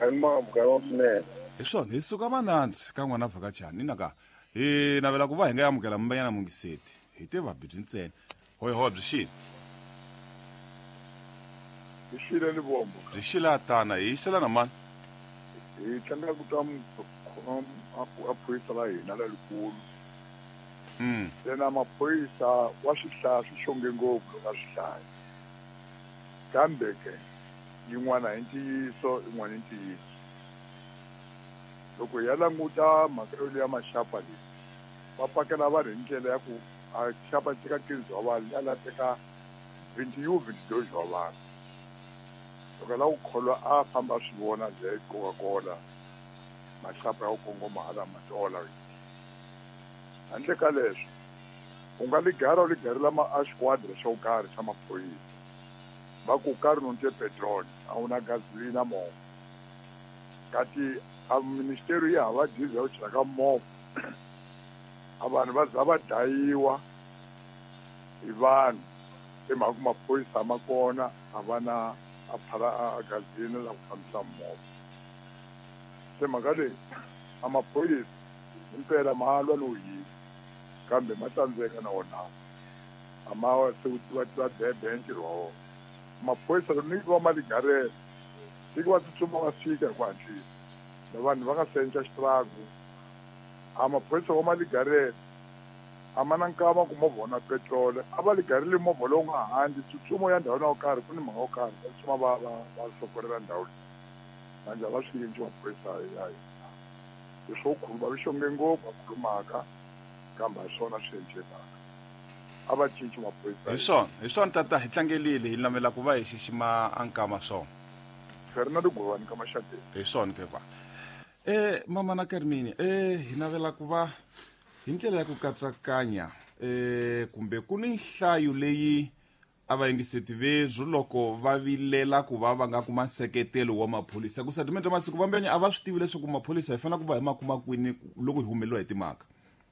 Swinene. Hi swona, hi suka manandzi ka n'wana vhakachani inaka hi navela ku va hi nga amukela mbanyana mungiseti hi te vabibyi ntsena. Hoyi byi xile. Hi xile Livombo. Byi xile atana hi yisela na mani? Hi tlangela ku twa a phorisa la hina lalikulu. Yena maphorisa wa swi hlaya swi xonge ngopfu loko a swi hlaya. Kambe ke yin'wana hi ntiyiso, yin'wana hi ntiyiso. Loko hi ya languta mhaka yo leya maxapa leyi, va pakela vanhu hi ndlela ya ku a xapa teka 15 wa vanhu, ya la teka 21 22 wa vanhu. Loko la ku kholwa a famba a swi vona le Coca-Cola, maxapa ya ku kongoma hala Matola. Handle ka leswo, u nga ligara u ligarela ma a xiquadra xo karhi xa maphorisa. Va ku karhi no nte petrol, a wu na gasolina movha. Kati a ministeri yi hava diesel ya ku chela ka movha. A vanhu va za va dlayiwa hi vanhu hi mhaka ku maphorisa ma kona a va na a phala a gasolina la ku fambisa movha. Se mhaka leyi a maphorisa himpela ma lwa no yiva kambe ma tsandzeka na wona. A ma se wu tiva tiva bebe ntirho wa wona. Maphorisa loko ni va ma ligarela tiko va tsutsuma va fika hi ku hatlisa. Na vanhu va nga senca xitragu a maphorisa wa ma ligarela a ma na nkama ku movha wu na petrol, a va ligareli movha lowu nga handle tsutsumo ya ndhawini yo karhi ku ni mhaka yo karhi va tsutsuma va va va sokorela ndhawu leyi. Manje a va swi endli maphorisa ya hina. Leswo khuluma vi xonge ngopfu va khulumaka kambe a swona swi endlekaka. A va cinci maphorisa. Hi swona tata, hi tlangelile hi navela ku va hi xixima a nkama swona. Fernando Govani ka Maxateni. Hi swona ke va. Mama na Carmine, hi navela ku va hi ndlela ya ku katsakanya kumbe ku ni nhlayo leyi a va yingiseti vezwu loko va vilela ku va va nga kuma nseketelo wa maphorisa. Ku satimente masiku vambenya a va swi tivi leswaku maphorisa hi fanele ku va hi ma kuma kwini loko hi humeleriwa hi timhaka.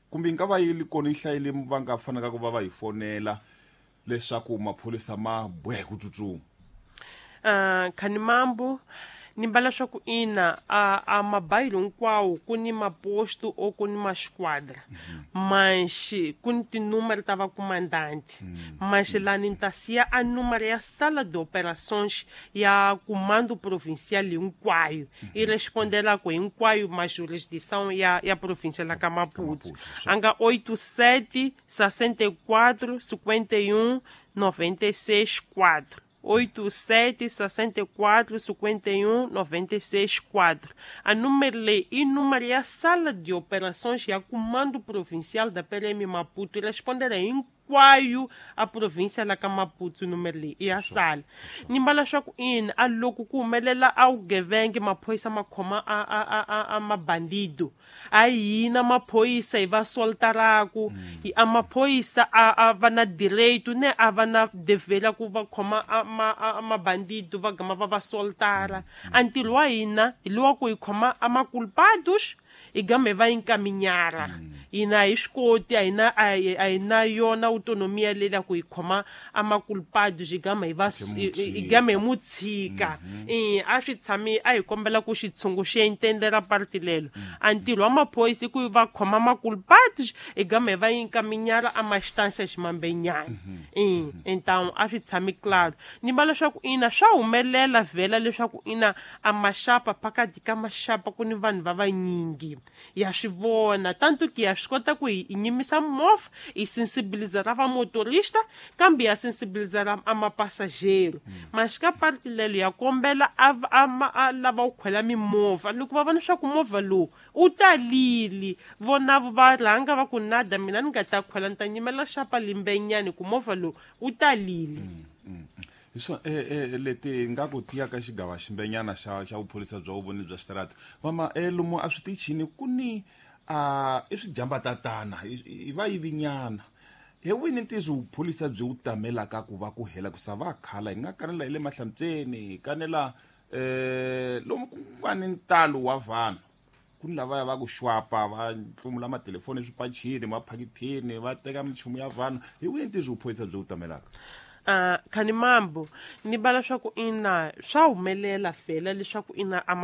Kumbe yi nga va yi ri kona nhlayo leyi va nga fanelaka ku va va hi fonela leswaku maphorisa ma boha ku tsutsuma. Khanimambu ni mbala swa ku ina a mabayilo hinkwawo ku ni maposto o ku ni masquadra. Manxi ku ni tinumero ta vakomandanti. Manxi lani ni ta siya a numero ya sala de operações ya comando provincial hinkwayo. I respondelako hinkwayo ma jurisdição ya província la ka Maputo. A nga 87 64 51 96 4. 87 64 51 96 4. A número leyi i número ya sala de operações ya comando provincial da PRM Maputo. Respondera hinkwayo a província la ka Maputo número leyi i ya sala. Ni mbala swa ku ina a loko ku humelela a vugevenga maphorisa ma khoma a mabandido. A hina maphorisa hi va soltaraku. A maphorisa a va na direito ne a va na devela ku va khoma a mabandido va gama va va soltara. A ntirho wa hina hi lowa ku hi khoma a maculpados hi gama hi va encaminhar. Hina hi swi koti, a hi na yona autonomia leyi la ku hi khoma a maculpados hi gama hi va hi gama hi mu tshika. A swi tshami a hi kombela ku xitshungu xi entendela parti lelo. A ntirho wa maphorisa i ku va khoma maculpados hi gama hi va encaminhar a ma instâncias mambenyana. Então a swi tshami claro. Ni va leswaku ina swa humelela vhela leswaku ina a maxapa phakathi ka maxapa ku ni vanhu va vanyingi. Ya swi vona tanto que ya swi kota ku hi nyimisa movha hi sensibilizar va motorista kambe ya sensibilizar a mapassageiro. Mas ka parti lelo ya kombela a lava ku khwela mimovha loko va vona swa ku movha lowu u talile vona va rhanga va ku nada mina ni nga ta khwela ni ta nyimela xapa limbenyani ku movha lowu u talile. Hi swona leti nga ku tiya ka xigava ximbenyana xa vupholisa bya vuvoni bya xitarata. Mama lomu a switichini ku ni i swijambatatana i va yivinyana. Hi wini ntiyiso vupholisa byi wu tamelaka ku va ku hela ku sa va khala hi nga kanela hi le Mahlambyeni hi kanela lomu ku nga ni ntalo wa vanhu. Ku ni lavaya va ku xwapa va ntlumula matelefoni eswipachini maphakithini va teka minchumu ya vanhu. Hi wini ntiyiso vupholisa byi wu tamelaka? Khanimambu ni vala swa ku ina swa humelela vhela leswaku ina a